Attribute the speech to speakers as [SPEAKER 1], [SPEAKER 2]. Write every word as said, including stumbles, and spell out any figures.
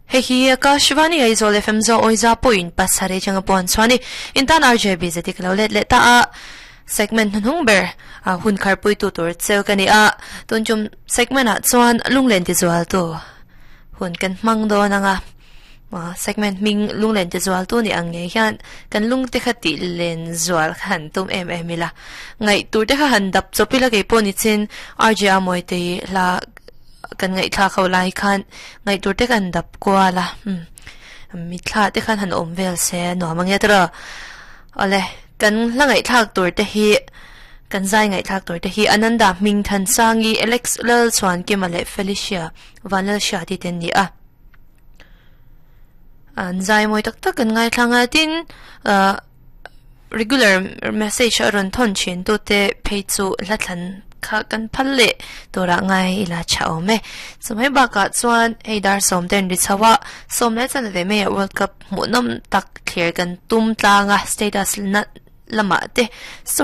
[SPEAKER 1] Hei hi Akashvani Aizawl F M zo oiza point pasare changa pon chuani intan R J B zeti klo let le ta a segment hnung ber a hun khar pui tu tur cheu kani a tun chum segment a chuan lunglen ti zual tu hun kan mang do na nga ma segment ming lunglen ti zual tu ni ang nge hian kan lung te kha ti len zual khan tum em em ila ngai tur te kha han dap chopila ke poni chin R J amoi te la kan ngai thla khau lai khan ngai tur te kan dap kwa la hm mi thla te khan han om vel se no mangya tra ole kan la ngai thak tur te hi kan zai ngai thak tur te hi Ananda Ming Than Sangi Alex Lal Chuan Kimale Felicia Vanel Sha ti ten ni a an zai moi tak tak kan ngai thlanga tin regular message aron thon chin tu te phei chu la thlan kha kan phalle tora ngai ila cha ome chumai baka chuan hei dar som ten ri chawa som le chan ve me World Cup mu nom tak clear kan tum tlanga status na lama te so